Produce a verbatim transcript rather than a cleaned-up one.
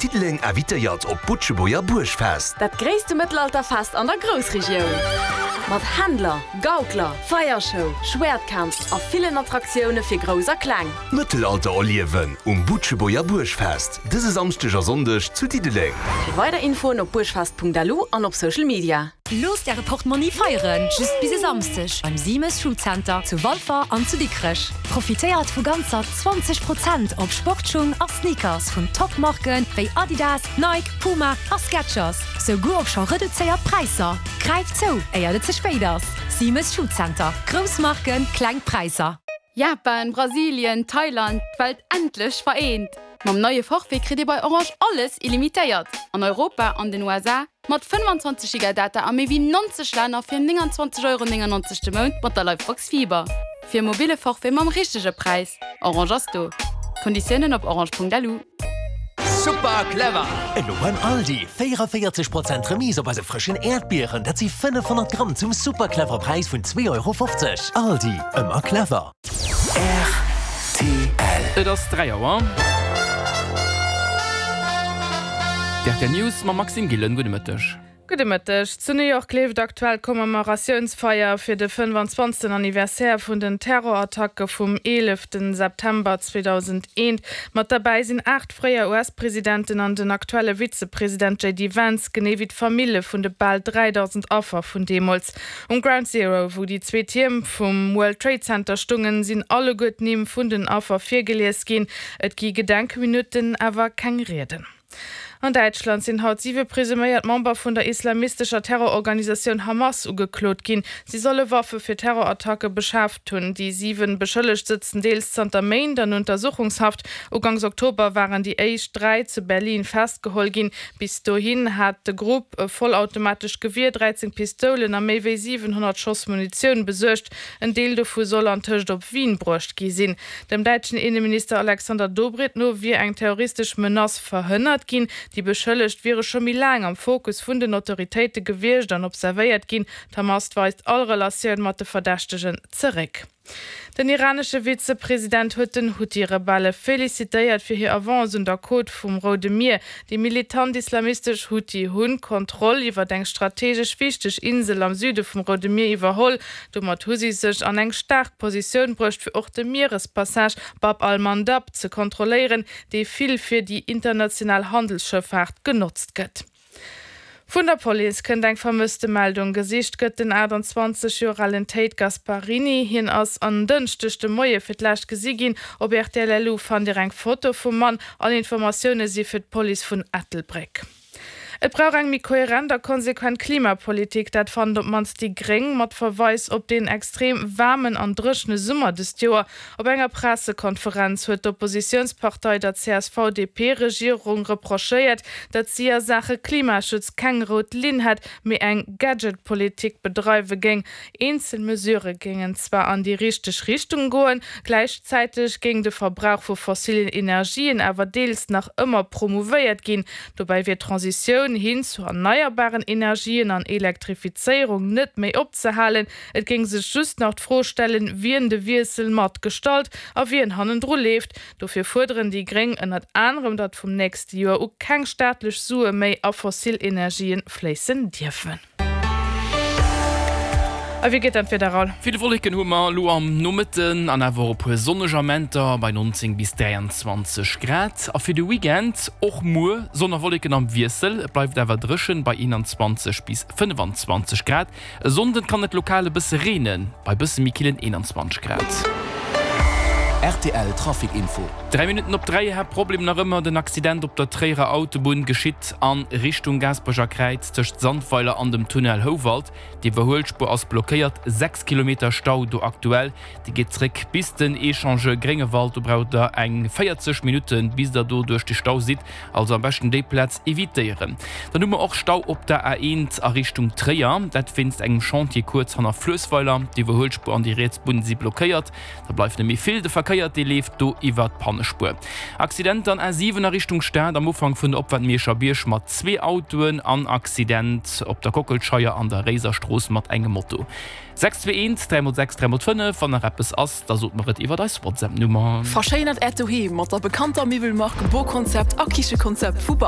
Diddeleng invitéiert op d'Butschebuerger Buergfest. Dat gréisste Mëttelalterfest an der Groussregioun. Mat Händler, Gaukler, Feiershow, Schwäertkampf a villen Attraktioune fir Grouss a Kleng. Mëttelalter erliewen um Butschebuerger Buergfest. Dëse Samschdeg a Sonndeg zu Diddeleng. Fir weider Infoen op buergfest Punkt L U an op Social Media. Loosst äre Portmonni feieren, just bis e Samschdeg beim Siemes Schuhcenter zu Walfer an zu Dikrech. Profitéiert vu ganzer zwanzeg Prozent op Sportschung a Sneakers vun Topmarken wéi Adidas, Nike, Puma a Skechers. Souguer op scho reduzéiert Präisser. Gräift zou, éier et ze spéit ass. Siemes Schuhcenter. Grouss Marken, kleng Präisser. Japan, Brasilien, Thailand, d'Welt endlech vereent. Mam neie Forfait kritt dir bei Orange alles illimitéiert. An Europa an den U S A mat fënnfanzwanzeg Giga Data a méi wéi neunzeg Länner fir neunundzwanzeg Euro neunundneunzeg de Mount mat der Livebox Fiber. Fir mobile Forfait mam richtege Präis. Orange ass do. Konditiounen op orange Punkt L U. Super clever! Elo beim Aldi véierunvéierzeg Prozent Remise op eise frëschen Äerdbieren. Dat si fënnefhonnert Gramm zum super clever Präis vun zwee Euro fofzeg. Aldi, ëmmer clever. R T L. Et ass dräi Auer. D R T L News mam Maxime Gillen. Gudde Mëtteg. Gudde Mëtteg. Zu New York leeft aktuell Commemoratiounsfeier fir de fënnefanzwanzegsten Anniversaire vun den Terrorattacke vum eelefte September zweedausendeent. Mat derbäi sinn aacht fréier U S-Presidenten an den aktuelle Vizepresident J D Vance, genee wéi d'Famillje vun de bal dräidausend Affer vun deemools. Um Ground Zero, wou déi zwee Tierm vum World Trade Center stungen, sinn alleguer d'Nimm vun den Affer virgelies ginn. Et gi Gedenkminutten, awer keng Rieden. An Däitschland sinn haut siwe presuméiert Member vun der islamistescher Terrororganisatioun Hamas ugeklot ginn. Si solle Waffe fir Terrorattacke beschaaft hunn. Déi siwe Beschëllegt sëtzen deels zanter Méint an Untersuchungshaft. Ugangs Oktober waren déi éischt dräi zu Berlin festgeholl ginn. Bis dohin hat de Grupp e vollautomatescht Gewier, dräizéng Pistoulen a méi wéi siwenhonnert Schoss Munitioun besuergt. En Deel dovu soll antëscht op Wien bruecht gi sinn. Dem däitschen Inneminister Alexander Dobrindt no wier eng terroristesch Menace verhënnert ginn. Déi Beschëllegt wiere scho méi laang am Fokus vun den Autoritéite gewiescht an observéiert ginn. D'Hamas weist all Relatioun mat de Verdächtegen zeréck. Den iranesche Vizepresident huet den Houthi-Rebelle felicitéiert fir hir Avance un der Côte vum Roude Mier. Déi militant islamistesch Houthi hunn d'Kontroll iwwer eng strategesch wichteg Insel am Süde vum Roude Mier iwwerholl. Domat hu si sech an eng staark Positioun bruecht fir och de Mierespassage Bab al-Mandab ze kontrolléieren, dee vill fir déi international Handelsschëffaart genotzt gëtt. Vun der Police kënnt eng Vermësstemeldung. Gesicht gëtt den aachtanzwanzeg Joer alen Tate Gasparini. Hien ass en Dënschdeg de Moie fir d'lescht gesi ginn. Op R T L L U fannt dir eng Foto vum Mann. All Informatioune si fir d'Police vun Ettelbréck. Et brauch eng méi kohärent a konsequent Klimapolitik, dat fannen op d'mannst déi Gréng mat Verweis op den extrem waarmen an dréchene Summer dëst Joer. Op enger Pressekonferenz huet d'Oppositiounspartei der C S V-D P-Regierung reprochéiert, datt si a Saache Klimaschutz keng rout Linn hätt, mee eng Gadgetpolitik bedreiwe géing. Eenzel Mesurë géingen zwar an déi richteg Richtung goen, gläichzäiteg géing de Verbrauch vu fossillen Energien awer deels nach ëmmer promouvéiert ginn. Dobäi wier d'Transitioun hin zu erneierbaren Energien an Elektrifizéierung net méi opzehalen. Et géing sech just nach d'Fro stellen, wien de Wiessel mat gestalt a wien hannendru leeft. Dofir fuerderen déi Gréng ënnert anerem, datt vum nächste Joer u keng staatlech Sue méi a fossil Energien fléissen dierfen. A wéi geet dann d'Wieder, Raoul? Vill Wolleken hu mer elo am Nomëtten an awer e puer sonneg Amenter bei nonzéng bis dräianzwanzeg Grad. A fir de Weekend och muer Sonn a Wolleken am Wiessel, et bleift awer dréchen bei eenanzwanzeg bis fënnfanzwanzeg Grad. E Sonnden kann et lokal e bësse reenen bei bësse méi killen eenanzwanzeg Grad. R T L Trafic Info. Dräi Minutten op dräi. Haaptproblem nach ëmmer den Accident op der Tréierer Autobunn geschitt an Richtung Gaasperecher Kräiz tëscht Sandweiler an dem Tunnel Houwald. D'Iwwerhuelspuer ass blockéiert, sechs Kilometer Stau do aktuell. Dee geet zréck bis den Echangeur Gréngewald. Do braucht der eng véierzeg Minutten, bis der do duerch de Stau sidd. Also am beschten déi Plaz evitéieren. Dann hu mer och Stau op der A eent a Richtung Tréier. Dat wéinst engem Chantier kuerz hanner Fluessweiler. D'Iwwerhuelspuer an déi riets Bunn si blockéiert. Da bleift net méi vill. De Verkéier dee leeft do iwwer d'Pannespuer. Accident an A siwen a Richtung Stad am Ufank vun der Opfaart Mierscher Bierg mat zwee Autoen an Accident op der Kockelscheier an der Réiserstrooss mat engem Moto. sechs zwee eent dräi mol sechs dräi mol fënnef. Wann nach eppes ass, da sot mer et iwwer eis WhatsApp-Nummer. Verschéinert äert Doheem mat der bekannter Miwwelmark BoConcept a Kichekonzept vu Bartelt.